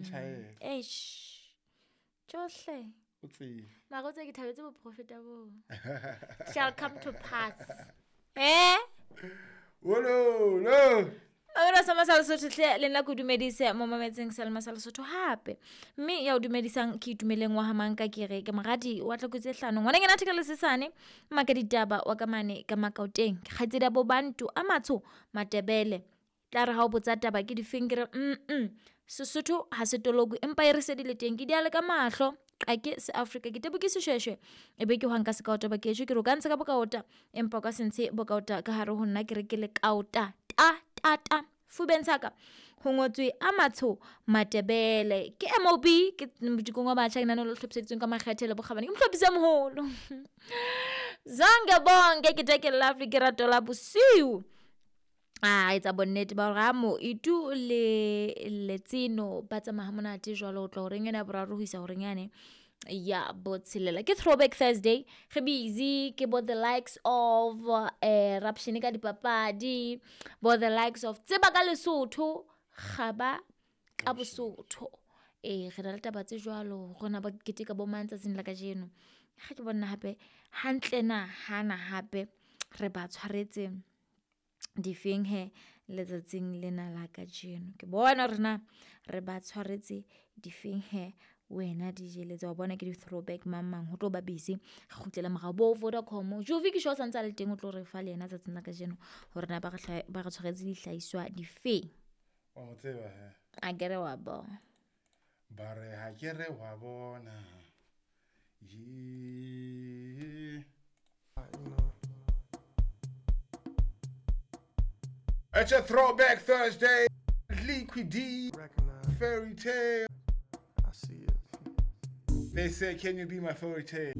Tjhaela. Eish. Tjohle. O tsebe. Mara o tsebe ke thabetse boprofeta boo. Shall come to pass. Eh? Wololo. Mamela sa Masa Lesotho hle le nna ke o dumedise mo mametseng Selma sa Lesotho hape. Mme ya o dumedisang ke itumeleng wa hamanka ke re ke moradi wa tlokotsi e hlano. Ngwananyana theka lesesane maka ditaba wa ka mane ka Makaoteng. Ke kgaitsedi ya bo Bantu a matsho Matebele. Tla re ha o botsa taba ke difeng ke re Sesotho ha se tolokwe empa e re se di le teng ke di ale ka mahlo. Qake se Afrika ke tebo ke seshweshwe e be ke hwang ka sekaota ba kesho ke re o ka ntsha ka bokaota empa o ka se ntshe bokaota ka hare ho nna ke re ke lekaota ta ta ta fubeng saka ho ngotswe a matsho Matebele ke MOB ke modikong wa batjha ke nane le hlophiseditsweng ka makgethe le bokgabane ke mohlophisi a moholo zonke bonke ke take lovely ke rato la bosiu a etsa bonnete ba hore mo itu le letseno ba tsamaya ha monate jwalo ho tloha horeng ena ya boraro ho isa horeng yane ya botshelela. Ke Throwback Thursday re busy ke bo the likes of raption ka dipapadi, bo the likes of tseba ka Lesotho, kgaba ka Bosotho. Ee, re na le taba tse jwalo rona ba keteka bo mang tsatsing la kajeno. Ha ke bona hape hantle na hana hape re ba tshwaretse difeng he letsatsing lena la kajeno. Ke bona hore na re ba tshwaretse difeng he wena DJ letsa wa bona ke di-throwback mang mang ho tlo ba busy re kgutlela morao bo Vodacom. Jovi ke sure o santse a le teng o tlo re fa le yena tsatsing la kajeno hore na ba re tshwaretse dihlahiswa difeng. Wa mo tseba he? A ke re wa bona. Ba re ha ke re wa bona. Ye. It's a Throwback Thursday. Liquid D. Fairy tale. I see it. They say, can you be my fairy tale?